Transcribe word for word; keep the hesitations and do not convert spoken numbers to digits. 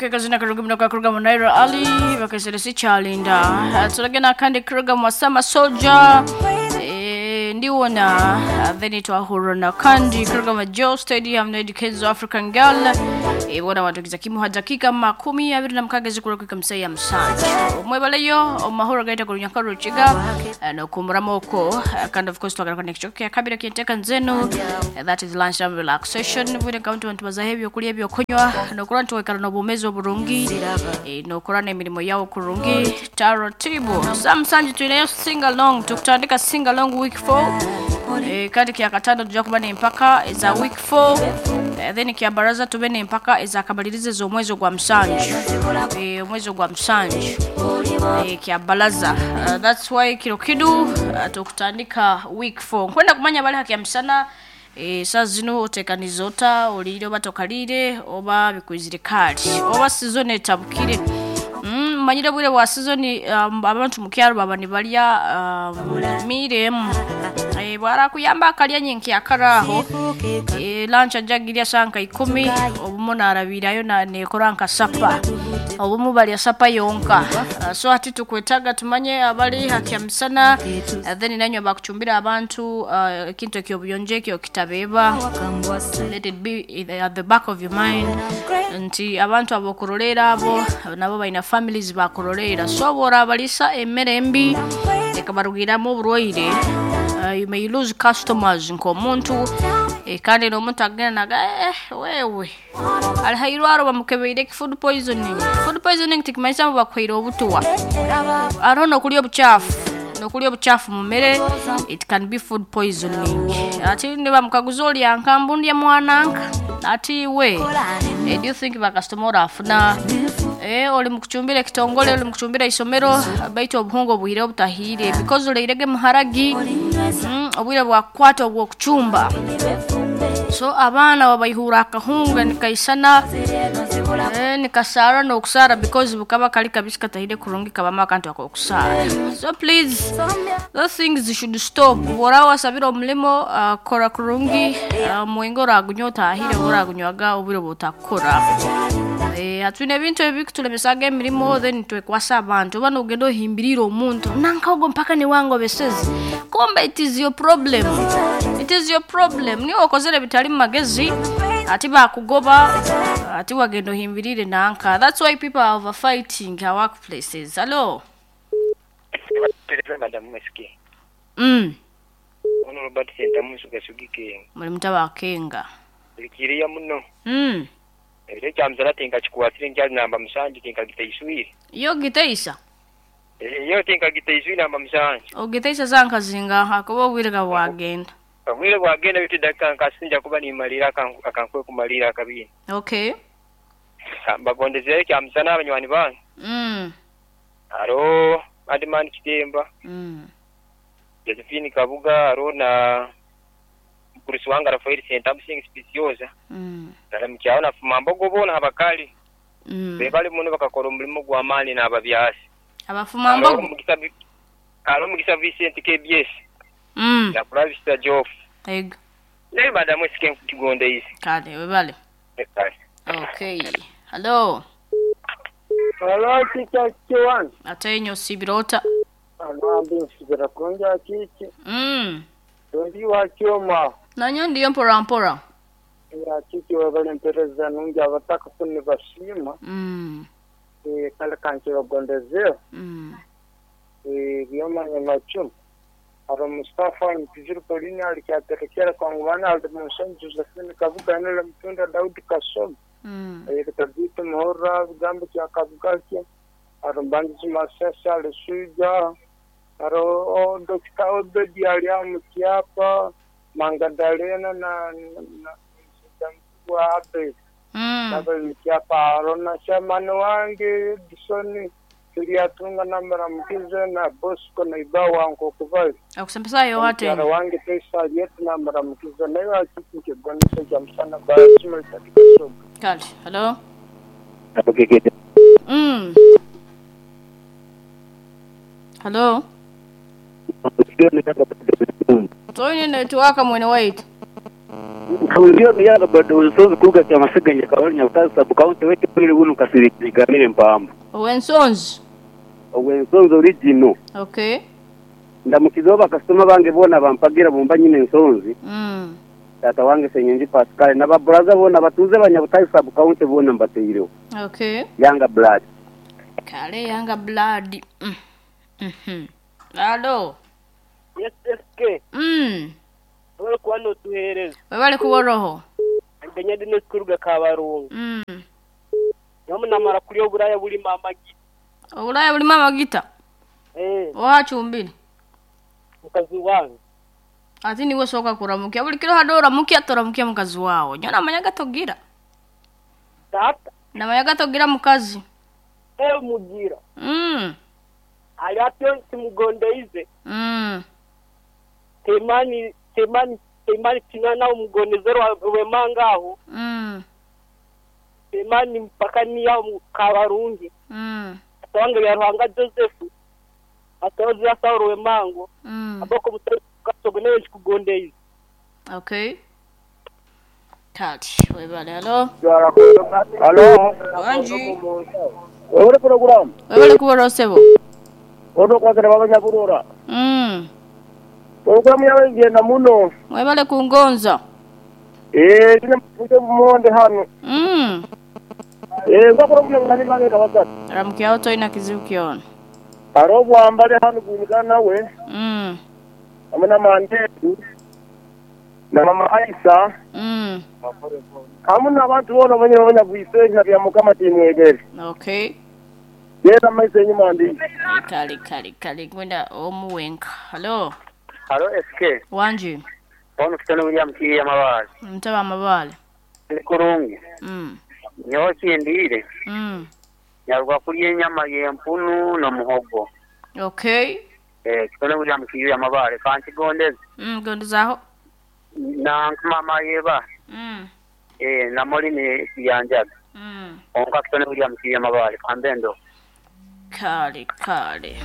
Okay, kazina karuga muno karuga mu Naira Ali bakaseresi kyalinda turagena kandi karuga mu Sama Soldier eh, ndiwona then twahura na kandi karuga mu Joe Stadium na Educates African Girl eh, bona watugiza kimu dakika makumi abiri na mukaaga zikura msaya ya musanju omwebaleyo omahoro gaita ku runyanka rukiga eh, nokumuramo okwo. Eh, kandi of course twagaruka nekicoka kya kabiri kyenteka nzenu. Eh, that is lunch time relaxation bwire nka bantu bazaho ebyokurya ebyokunywa nokura nti waikara n'obumezi oburungi, eh, nokora n'emirimo yawo kurungi taratibu. Sa musanju tuineyo sing along, tukutandika sing along week four, eh, kandi kya katano tujja kuba n'empaka eza week four, eh, then kya baraza tube n'empaka ezakamaliriza ez'omwezi ogwa musanju, eh, omwezi ogwa musanju, eh, kya baraza. uh, that's why kiro kidu uh, tukutandika week four. Nkwenda kumanya bali hakya musana, eh, saa zino otekaniza ota, oliire oba tokaliire oba bikwizire kali oba season etabukire. Mm, manyire bwire bwa season, um, abantu mukyaro baba nibalya um, miremu, eh, bwarakuyamba akalya nyenki akaraho, eh, lunch ajagirya sanka ikumi obumu narabirayo na nekora nka sapa, obumu balya sapa yonka. uh, so ati tukwetaga tumanye abali hakya misana, uh, then nanywe bakuchumbira abantu uh, ekintu ekyobuyonjo ekyo kitabeba. Let it be at the back of your mind nti abantu abokurolera abo nabo balina families bakurolera, so bworabalisa emmere embi ekabarugiramu oburwaire, uh, you may lose customers nk'omuntu, eh, kandi n'omuntu agenda naga eh, wewe ali hairwaro bamukebeire food poisoning. Food poisoning tikimanyisa ngu bakuhaire obutuwa, hariho n'okurya obucaafu, n'okurya obucaafu mu mmere, it can be food poisoning. Ati nibamukaguza olya nkambu ndya mwananka ati we, eh, do you think bakasitoma orafuna, eh, oli mukuchumbira ekitongole, oli mukuchumbira isomero, baitu obuhungu obuhire obutahire because oleirege muharagi, mm, obwire bwakukwata obwokuchumba, so abaana babaihura akahunga nikaisana, eh, nikasara n'okusara because bukaba kali kabisi katahire kurungi kabamu akantu akokusara. So please, those things should stop. Bwora wasabira omulimo, uh, kora kurungi, uh, mwinga oragunywa otahire oba oragunywaga obwire bwotakukora. Eh, atwine ebintu ebi bikutulemesaga emirimo, then twekwasa abantu oba nogenda ohimbirire omuntu nankaogo mpaka niwangobeseze, kumbe it is your problem, it is your problem, niwe okozere bitali mu magezi ati bakugoba ati wagenda ohimbirire nanka. That's why people are overfighting our workplaces. Hello. Madam Meski. mm Ono Robert Sentamu sugasugike. Muli mutaba akenga. Likiriya muno. mm Ebire kyamzala tinka kikwatire nkyali namba musanju tinka giteiswire. Yo giteisa. Eh, yo tinka giteiswire namba musanju. Ogiteisa zankazinga akuba obwire ga bwagenda. Obwire bwagenda bitu dakika nkasinja kuba nimalira akankwe kumalira akabini. Okay. Mbagondezere kyamsana abanywani bange. mm Aro Adman Kitemba. mm Josephine Kabuga aro na Mkurisi wanga Rafael Sentamu sing speciosa. mm Naramukyao na fumambogo bona abakali. mm Bebali muno bakakora omulimo gw'amaani n'ababyasi. Abafumambogo. Alo Mugisa Vincent K B S. mm Nakulabisa Joff. Ego. Naye madamu esike nkukigonda izi. Kale webale. Kale. Okay. Hello. Hello, Teacher Kiwan. Ate sibirota. Anambi nsigara kunja kiki. mm Ndi wa kyoma. Nanyo ndiyo mpora mpora. Ya kiki wabale mpereza nungi abataka kuni bashima. mm E kale kanki bagondeze. mm E byoma nyamachumu. Aro Mustafa Mpizuru Polini alikyaterekera kwa ngwana alimusanju Josephine Kabuga nele mtunda Daudi Kasomo. mm E katabiti muhora bigambo kya Kabuga kye. Aro Mbanzi Masesa alisuja. Aro Dokita Obedi aliamukyapa Mangadalena na na wa Abe. mm Nabalikyapa aro na shamani wange Edison tuliatunga namara mkize na Bosco na Ibawa nkokubali. Akusembesa yo ate. Mukyala wange Tesa yetu namara mkize nayo akiki kibonesa kya musana basima katika soga. Kale. Hello. mm Hello. Toine network mwene wait. Ndio yanga bado usozi kuruga kya masiganya kabali nyabutazi sub county wete pili bunu kasiri mpambo. Owensonzi. Owensonzi original. Okay. Ndamukizo bakasoma bange bona bampagira bumba nyine ensonzi. Mm. Tata wange Senyenji Pascal na baburaza bona batuze banyabutazi sub county bona mbateireho. Okay. Yanga blood. Kale yanga blood. Mm. Mhm. Alo. Yes S K. Mm. Wale kwano tuhereza. Webale kuboroho. Ngenya dino kuruga kabarungu. Mm. Nyamu namara kuri oburaya buli mama gita. Oburaya buli mama gita. Eh. Ohachumbiri. Mukazi wange. Ati niwe soka kuramukia buli kiro hadora mukia toramukia mukazi wawo. Nyona manyaga togira. Tata. Na manyaga togira mukazi. Eh mugira. Mm. Ali atyo timugondeize. Mm. Temani temani temani tinana umugonezero wemangaho. Mm. Temani mpaka niya kabarungi. Mm. Atwange ya Ruhanga Joseph. Atozi ya Saulo wemango. Mm. Aboko mutakasogoneje kugondeize. Okay. Kati webale hello. Hello. Wanji. Wewe program. Webale kuborosebo. Odo kwakira babanyaburora. Mm. Programu yawe ngenda muno. Webale kungonza. Eh, ndine muje mumonde hano. Mm. Eh, ngakora kuno ngani bange kabasatu. Ramukia oto ina kizibu kiona. Arobo ambale hano kunikana nawe. Mm. Amena mandetu. Na mama Aisha. Mm. Hamuna abantu bona banye banya bwisenya bya mukama timwegere. Okay. Yera maise nyuma ndi. Kali kali kali kwenda omuwenka. Hello. Halo S K. Wanji. Ono kitano William Kiya mabale. Mtaba mabale. Kurungi. Mm. Nyoki kindire. Mm. Nyarwa kulye nyama yempunu no muhogo. Okay. Eh kitano William Kiya mabale kanti gondeze. Mm gondezaho. Na mama yeba. Mm. Eh na molini yanjaga. Mm. Onka kitano William Kiya mabale kambendo. Kali kali.